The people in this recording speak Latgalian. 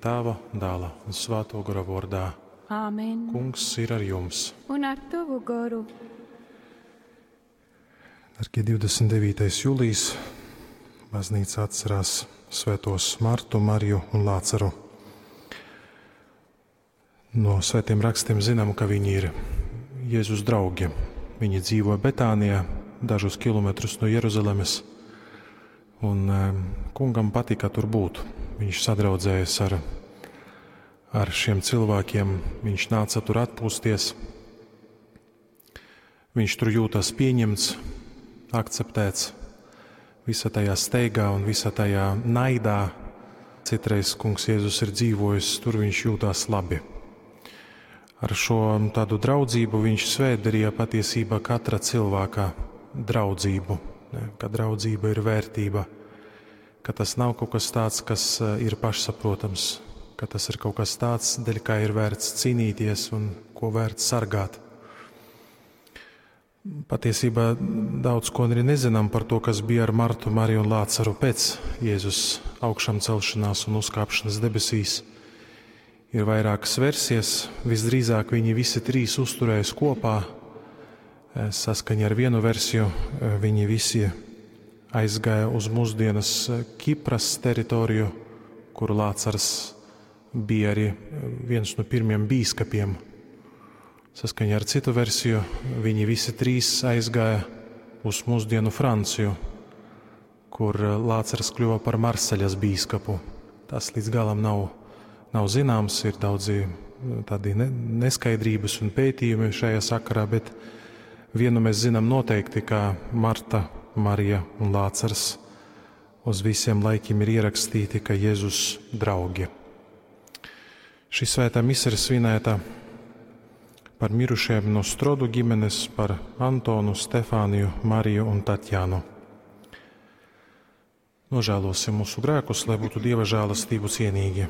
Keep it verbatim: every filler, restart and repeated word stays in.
Tāva, Dāla un Svātō Gora vōrdā. Āmen. Kungs ir ar jums. Un ar tavu goru. Dargie divdesmit devītais jūlijs, baznīca atcerās svētos Martu, Mariju un Lācaru. No svētiem rakstiem zinām, ka viņi ir Jēzus draugi. Viņi dzīvo Betānijā, dažus kilometrus no Jeruzalemes, un kungam patika tur būt. Viņš sadraudzējas ar, ar šiem cilvēkiem, viņš nāca tur atpūsties. Viņš tur jūtas pieņemts, akceptēts, visa tajā steigā un visa tajā naidā. Citreiz kungs Jēzus ir dzīvojis, tur viņš jūtās labi. Ar šo tādu draudzību viņš svētdarīja patiesībā katra cilvēka draudzību, ne, ka draudzība ir vērtība, ka tas nav kaut kas tāds, kas ir pašsaprotams, ka tas ir kaut kas tāds, dēļ kā ir vērts cīnīties un ko vērts sargāt. Patiesībā daudz ko arī nezinām par to, kas bija ar Martu, Mariju un Lācaru pēc Jēzus augšām celšanās un uzkāpšanas debesīs. Ir vairākas versijas, visdrīzāk viņi visi trīs uzturējas kopā. Saskaņā ar vienu versiju viņi visi aizgāja uz mūsdienas Kipras teritoriju, kur Lācars bija arī viens no pirmiem bīskapiem. Saskaņā ar citu versiju viņi visi trīs aizgāja uz mūsdienu Franciju, kur Lācars kļuva par Marseļas bīskapu. Tas līdz galam nav, nav zināms, ir daudzi tādi ne, neskaidrības un pētījumi šajā sakarā, bet vienu mēs zinām noteikti, ka Marta, Marija un Lācars uz visiem laikiem ir ierakstīti, ka Jēzus draugi. Šī svētā mise ir svinēta par mirušajiem no Strodu ģimenes, par Antonu, Stefāniju, Mariju un Tatjānu. Nožēlosim mūsu grēkus, lai būtu Dieva žēlastību cienīgi.